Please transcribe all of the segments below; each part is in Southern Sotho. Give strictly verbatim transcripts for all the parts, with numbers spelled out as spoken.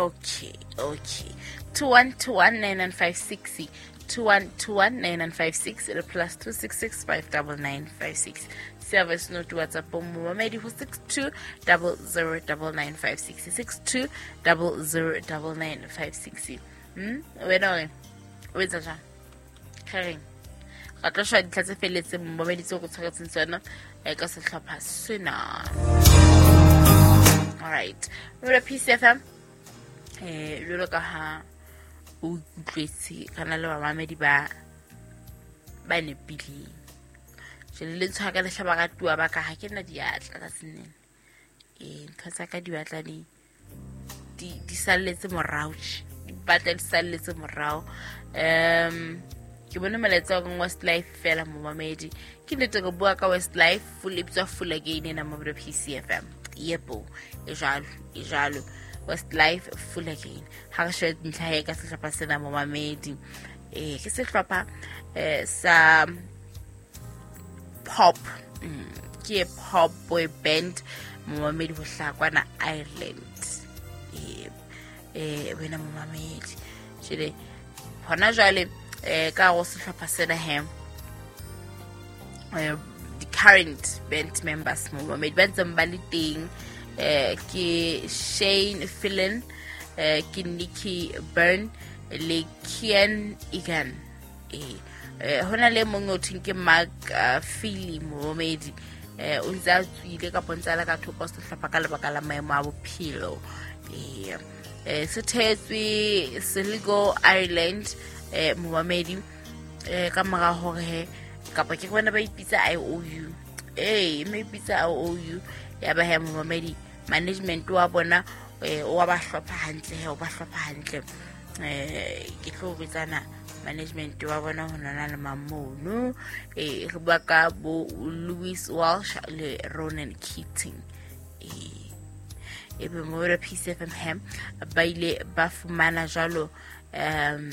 Okay, okay. two one two one nine nine five six two one two one nine nine five six le plus two six six five double nine five six. Service note WhatsApp momamedi ho six two double zero double nine five six six two double zero double nine five six. Hmm? Wena o o etsa jang? Kgereng. Ra tlo shwa dintlha tse felletseng momamedi tseo go tshwaretseng tsona ka sehlopha sena. All right. Mo P C F M eh jwalo ka ha o utlwetse kana le bamamedi ba ba nepileng. Jele le tshwara ka lehlaba ka tua ba ka ha ke nna diatla ka senene. Eh ntho tsa ka di batla di di di salletse morao. Di batla di salletse morao. Um ke bone molaetsa wa Westlife fela momamedi. Ke nnete go bua ka Westlife full ebitswa full again ena mo P C F M. Yebo, e jalo, e jalo. Westlife full again. Ha re shebe ntlha e ka sehlopha sena momamedi. Eh ke sehlopha eh sa pop, mm, ke pop boy band momamedi ho hlakwana Ireland. Eh eh wena momamedi. Jele hona jwale eh ka go sehlopha sena he eh the current band members momamedi ba ntseng ba le teng eh ke Shane Fillon, eh ke Nicky Byrne le Kian Egan. Eh eh hona le mongwe o theng ke Mark uh, Feely momamedi eh o ntse a tswile ka pontsa la ka thoko sehlopha ka lebaka la maemo a bophelo. Eh eh se thetswe Sligo Ireland eh momamedi eh ka mora hore kapa ke bona ba ipitsa I O U. Eh me ipitsa I O U ya ba he momamedi management wa bona eh o ba hlopha hantle he o ba hlopha hantle. Eh ke tlo bitsana management wa bona ho nana le mamono eh re bua ka bo Louis Walsh le Ronan Keating. Eh e be mo re P C F M hem ba ile ba fumana jalo um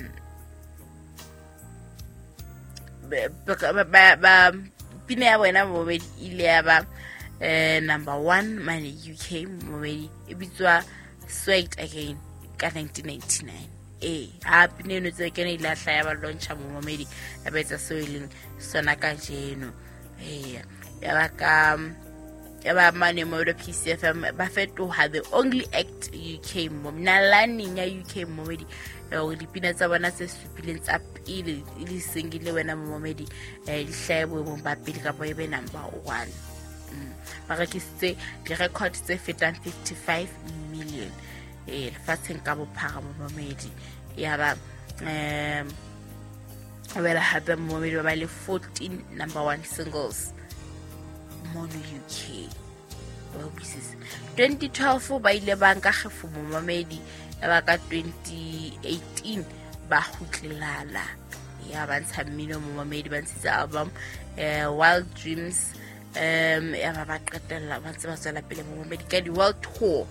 ba ba pina ya bona momedi ile ya ba eh number one mane U K momedi e bitswa Swagged Again ka nineteen ninety-nine. Eh ha pina eno tse kene ile a hlaya ba launcha momedi ya ba etsa seo e leng sona kajeno. Eh ya ba ka ya ba mane mo P C F M ba fetoha the only act U K momnalaneng ya U K momedi hore dipina tsa bona tse supileng tsa pele le sengile wena momedi eh di hlahe boemong ba pele kapa e be number one. Ba rekisitse di-record tse fetang fifty-five million eh lefatsheng ka bophara momedi. Ya ba um wela hape momedi ba ba le fourteen number one singles mono U K. twenty twelve ba ile ba nka kgefu momamedi ya ba ka twenty eighteen ba kgutlelala ya ba ntsha mmino momamedi ba ntshitse album eh Wild Dreams um ya ba ba qetella ba ntse ba tswela pele momamedi ka di world tour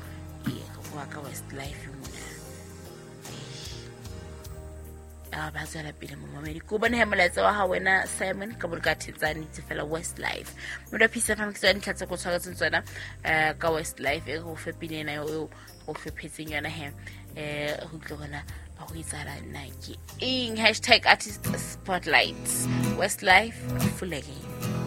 e go ka Westlife mona ya ba tswela pele momamedi ko bone he molaetsa wa ha wena Simon ka boloka thetsane tse fela Westlife mo P C F M ke tsona dintlha tse go tshwaretseng tsona eh ka Westlife e go fe pina ena eo go fephetseng yona he eh go tlo bona ba go itsala nna ke eng hashtag artist spotlight Westlife full again.